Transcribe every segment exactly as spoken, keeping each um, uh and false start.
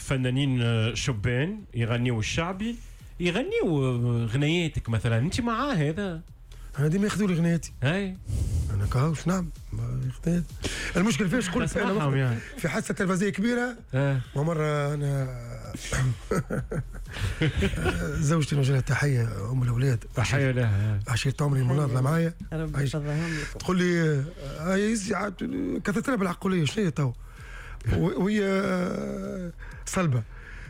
فنانين آه، شبان يغنيوا الشعبي، يغنيوا آه، غنياتك مثلا، انت معاه هذا؟ انا ديما ياخذوا لي غنياتي. اي. انا كهوش نعم غنيات. المشكل فيش قلت انا يعني. في حادثه تلفزيونية كبيرة آه. ومرة انا زوجتي نوجه لها تحية، ام الاولاد، تحية لها، عشيرة عمري المناضلة معايا، ربي يفضلهم لكم. تقول لي كثرت لها بالعقوليه، شنو هي تو وهي صلبه،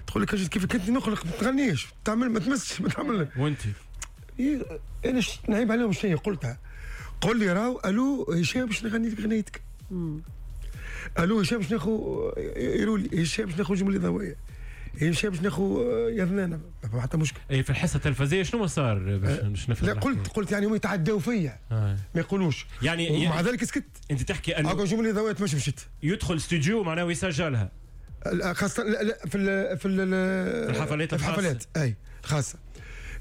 تقول لك كيف كنت نخلق ما تغنيش، تعمل ما تمسش ما تعمل. وانت انا نعيب عليهم شنو قلتها؟ قول لي راهو الو هشام باش نغني لك غنيتك، الو هشام باش ناخذ يرولي، هشام باش ناخذ جملة ضوئية، هشام باش ناخذ يا ذنانه، ما حتى مشكل. اي في الحصة التلفزيونية شنو ما صار باش نفهم؟ لا قلت قلت يعني هم يتعداو فيا آه. ما يقولوش يعني، ومع ذلك سكت. انت تحكي انه جملة ضوئية مش مشيت يدخل استوديو معناه ويسجلها، خاصة لا لا في ال في ال الحفلات الخاصة، الحفلات اي الخاصة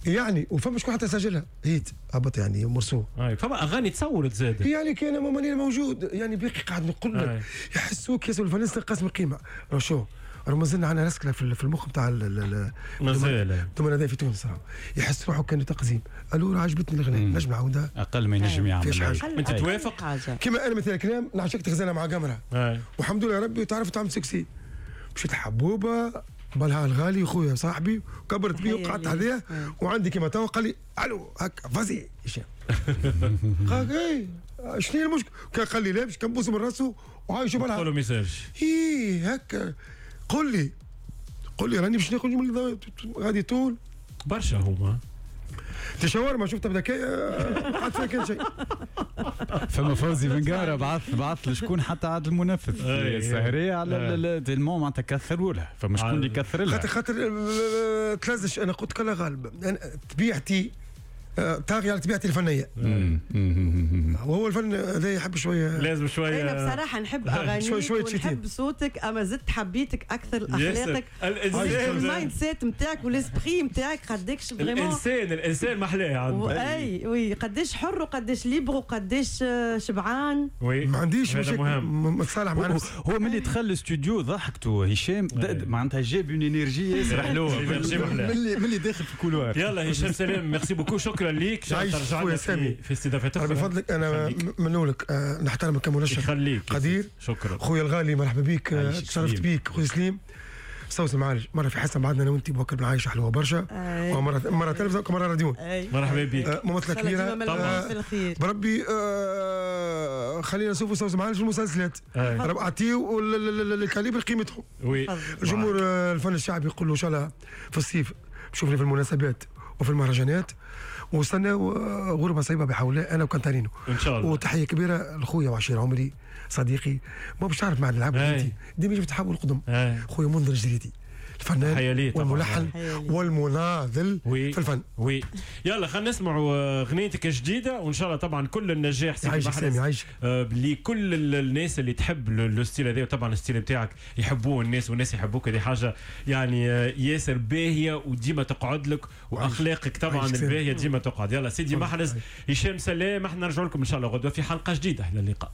يعني، وفما شكون حتى سجلها هيت هبط يعني مرسو. اي فما اغاني تصورت زاد يعني كان ماني موجود يعني باقي قاعد نقول لك يحسوك ياسر الفنان قاسم القيمة. راه شو راه مازلنا عندنا رسكله في المخ نتاع مازال الدومين في تونس، راه يحس روحه كانه تقزيم. الو راه عجبتني الغناء نجم نعاودها اقل ما ينجم يعمل. انت توافق؟ كيما انا مثلا كلام نعشقت غزاله مع قمره والحمد لله ربي وتعرف تعمل succès، مشيت حبوبه بالها الغالي خويا صاحبي وكبرت بيه وقعدت عليه وعندي كيما توا قال لي الو هكا vas-y هشام. قال اي شنو هي المشكل؟ كان قال لي لا باش كنبوس من راسه وعايش بالها. قول له message. اي هكا قول لي قول لي راني باش ناخذ جملة غادي طول برشا هما تشاور شفتها بذكاء ما عاد فيها كان شيء. فما فوزي بن قمرة بعث بعث لشكون حتى عاد المنفذ السهريه على tellement معناتها كثروا لها، فما شكون اللي كثر لها؟ خاطر خاطر تلزش. انا قلت لك غالب انا طبيعتي طاغي على طبيعتي الفنية، وهو الفن هذا يحب شوية، لازم شوية. انا بصراحة نحب اغانيك ونحب صوتك، اما زدت حبيتك اكثر اخلاقك، ال mindset نتاعك و l'esprit نتاعك قداش vraiment الانسان الانسان محلاه عنده. اي oui قداش حر وقداش libre وقداش شبعان. oui ما عنديش مشاكل، متصالح مع نفسي. هو ملي دخل الاستوديو ضحكته هشام معناتها جاب une énergie ياسر حلوة ملي ملي داخل في ال couloir. يلا هشام سلام، merci beaucoup، شكرا ليك، ترجع لنا في, في استضافتك. ربي يفضلك، انا منولك أه نحترمك كمنشط قدير. شكرا خويا الغالي، مرحبا بك، تشرفت بك خويا سليم. صوت المعالج مرة في حصة بعدنا انا وانت بوكر بن عايشه حلوة برشا، ومرة مرة تلفزه ومرة راديو. مرحبا بك، ممثلة كبيرة طبعا. بربي آه خلينا نشوفوا صوت المعالج في المسلسلات، رب اعطيو ال calibre قيمتهم. oui الجمهور الفن الشعبي يقول له ان شاء الله في الصيف شوفني في المناسبات وفي المهرجانات، وصلنا غربه صعيبة بحول الله انا وكانتارينو ان شاء الله. وتحية كبيرة لخويا وعشير عمري صديقي، ما باش تعرف مع العبد انت ديما يجي تحول القدم، خويا منذر الجريدي الفنان والملحن والمناضل في الفن. oui يلا خلينا نسمعوا غنيتك الجديدة، وان شاء الله طبعا كل النجاح سيدي محرز عايشك. آه لكل الناس اللي تحب le style هذا، وطبعا ال style بتاعك يحبوه الناس والناس يحبوك، هذه حاجة يعني ياسر باهيه وديما تقعد لك، واخلاقك طبعا الباهيه ديما تقعد. يلا سيدي محرز، هشام سلام، احنا نرجع لكم ان شاء الله غدوه في حلقة جديدة. الى اللقاء.